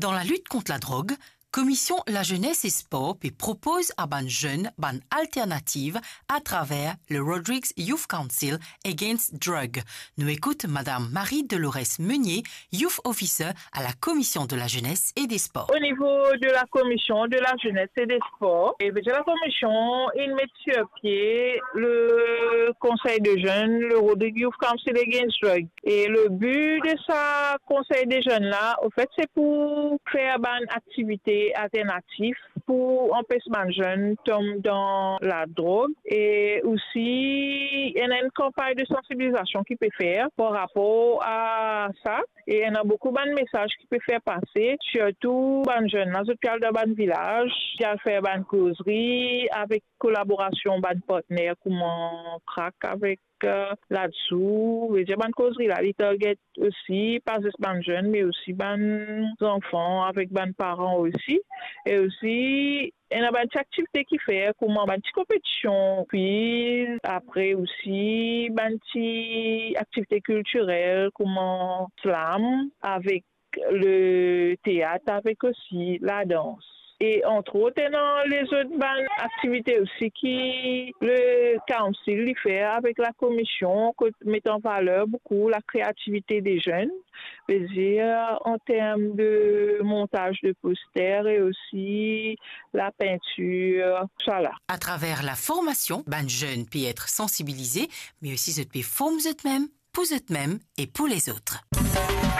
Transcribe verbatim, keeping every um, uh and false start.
Dan lalit kont ladrog, Komision Lazenes e Spor pe propoz a bann zenn bann alternativ atraver le Rodrigues Youth Council Against Drug. Nou ekout Madam Marie Dolores Meunier, Youth Officer à la Commission de la Jeunesse et des Sports. Au niveau de la Commission de la Jeunesse et des Sports, e vedir lakomision inn met sir pie le konsey de zenn, le Rodrigues Youth Council Against Drug. E le bi de sa konsey de zenn la, anfet, se pou fer bann aktivite alternatif pou anpes bann zenn tom dan ladrog. E osi, ena enn kanpagn de sansibilizasion ki pe fer par rapor a sa. E ena boukou bann mesaz ki pe fer pase, sirtou bann zenn la, zot pe al dan bann vilaz, pe al fer bann kozri avek kolaborasion bann partner kouma Crack avek, eh, Ladsou. Vedir bann kozri la, li target osi, pa zis bann zenn, me osi bann zanfan avek bann paran osi. E osi, ena bann ti aktivite ki fer, kouma bann ti konpetision kwiz, apre osi bann ti aktivite kiltirel, kouma slam, avek le teat, avek osi ladans. E antrot, ena lezot bann aktivite osi ki le Council li fer avek lakomision, kot met an valer boukou lakreativite de zenn, vedir an term de montaz de poster e osi lapintir, tousala. Atraver laformasion, bann zenn pe et sansibilize, me osi zot pe form zotmem, pou zotmem e pou lezot.